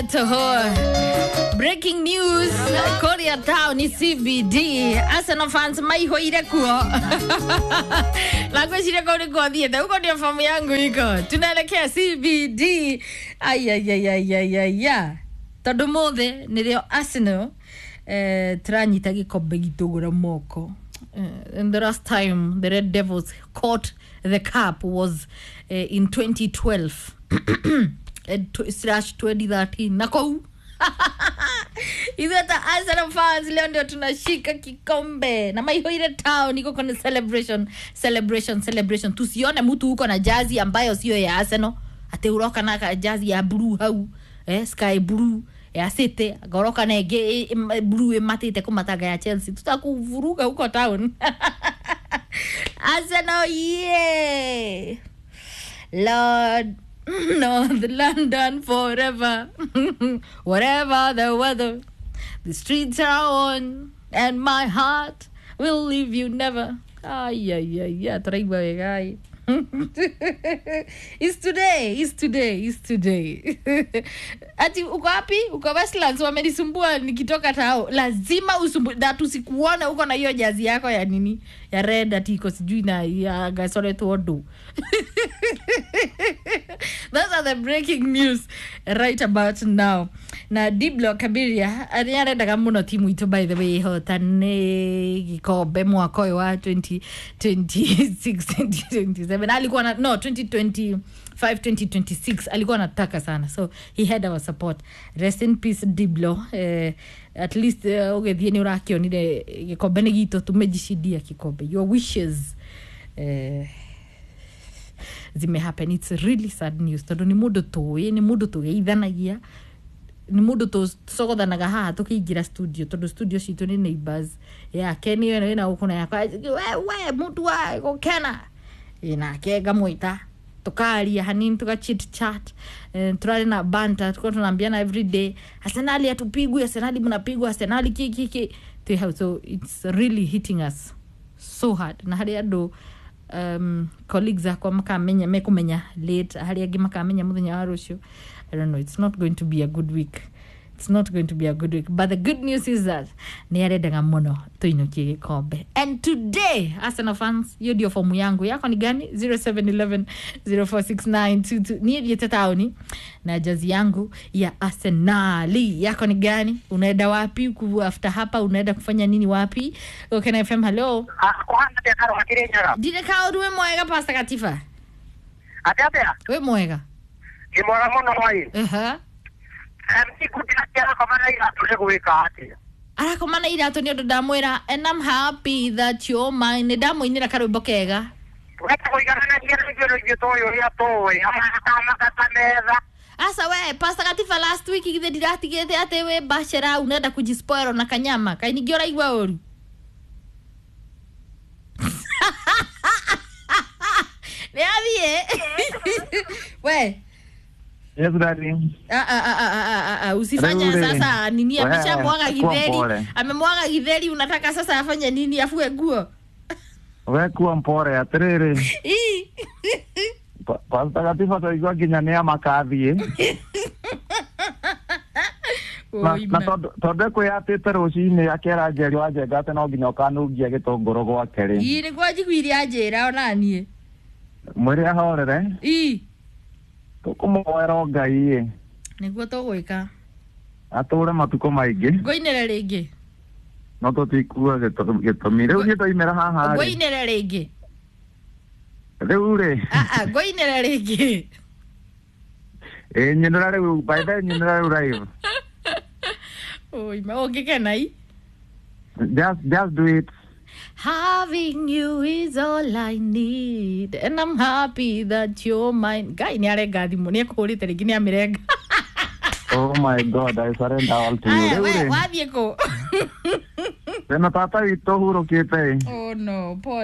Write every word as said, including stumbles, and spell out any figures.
Toho. Breaking news, Korea Town C B D. Arsenal fans maihoire kuo. Na ngwĩciria kũu nĩkuo thiĩte, huko ndio famu yangu iko. Tunaelekea C B D. Ayayayayaya. Tondũ mũthĩ nĩrĩo Arsenal eh, tũranyita gĩkombe gitũ gũra moko. Uh, and the last time the Red Devils caught the cup was uh, in twenty twelve slash twenty thirteen. Na kou ithuĩ ta Arsenal fans leo ndio tunashika kikombe na maihoire town iko kwenye celebration celebration celebration. Tusione mtu huko na jazi ambayo sio ya Arsenal, ate uroka na jazi ya blue hau, eh, sky blue ya City, goroka na ĩngĩ blue ĩmatĩte kũmatanga ya Chelsea. Tutakuvuruga huko town. Arsenal, yeah. Lord North London forever. Whatever the weather, the streets are on, and my heart will leave you never. Ay, ay, ay, ay, turaigua wega. It's today, it's today, it's today. Ati uko wapi? Uko Westlands, wamenisumbua nikitoka tao. Lazima usumbu na tusikuone uko na hiyo jazi yako ya nini? Ya red ati iko sijui na ya gasore tuodu. Those are the breaking news right about now. Na Diblo Kabiria arendaga muno timu itu by the way hotane gikombe mwaka ũyũ wa twenty twenty-six twenty twenty-seven. Alikuwa na no twenty twenty-five twenty twenty-six alikuwa anataka sana, so he had our support. Rest in peace Diblo. Eh, at least uh, ũgĩthiĩ nĩ ũrakĩonire gĩkombe nĩ gitũ, tumejishindia kikombe. Your wishes eh, zime happen. It's really sad news tondũ nĩ mũndũ tũĩ, nĩ mũndũ tũgeithanagia, nĩ mũndũ tũcogothanaga haha tũkĩingĩra studio tondũ studio citũ nĩ neighbors yake nĩ ĩno ĩna gũkũ na yakwa, we we mũndũ wa gũkena nake ngamwĩta tukaria hanini tuka chit chat, eh, turari na banta, tuko tunaambiana every day Arsenal hatupigwi, Arsenal mnapigwa, Arsenal ki ki ki tu hau. So it's really hitting us so hard. Na hari andu um, colleagues akwa makamenya mekumenya late, hari angi makamenya muthenya wa rucio. I don't know, it's not going to be a good week. It's not going to be a good week. But the good news is that nĩ arendaga mũno tũinũkie gĩkombe. And today, Arsenal fans, hiyo ndio fomu yangu. Yako ni gani? zero seven eleven zero four six nine two two. Niĩ thiĩte taũni na jazi yangu ya Arsenali. Yako ni gani? Unaenda wapi? After hapa unaenda kufanya nini wapi? Gokena F M, hello. Ndire kaũndũ wĩ mwega Pastor Katifa. Atĩa atĩa? Wĩ mwega. Nĩ mwega mũno mwai. Aha. Arakoma na iratũ nĩ ũndũ ndamwĩra and I'm happy that you're mine. Nĩ ndamũinĩra karwĩmbo kega. Asa we Pastor Katifa, last week githĩ ndiratigĩte atĩ wĩ bachelor unaenda kujispoil na kanyama kaĩ ningĩ ũraigua ũru. Nĩ athiĩ. We Yes, daddy. Ah, ah, ah, ah, ah, usifanye sasa nini, ameshamwaga githeri. Amemwaga githeri, unataka sasa afanye nini? Afue nguo? Wewe kuwa mpore atiriri. Pastor Katifa twaigua nginya nĩ amakathiĩ. Na tondũ ekwĩyatĩte rũcinĩ akera Njeri wa Njenga atĩ no nginya ũkanungia gĩtũngũrũ gwake rĩ. Ii nĩguo njiguire anjĩra ona niĩ. Mwĩre ahorere. Ii tũkũmũhoera Ngai ĩ. Nĩguo tũgwĩka. Atũre matukũ maingĩ. Ngũinĩre rĩngĩ. No tũtikua gĩtũmi. Rĩu niĩ ndoimĩra haha rĩ. Ngũinĩre rĩngĩ. Rĩu rĩ. Ah ah, ngũinĩre rĩngĩ. Ĩ nyinĩra rĩu, by the way nyinĩra rĩu live. Oi, ma ũngĩkena i. Just just do it. Having you is all I need and I'm happy that you're mine. Guy nĩ arenga thimũ, nĩ ekũhũrĩte rĩngĩ nĩ amĩrenga. Oh my God, I surrender all to you. Aya, we wathiĩ kũ? Wĩna tata witũ hurũkĩte. Oh no, pole.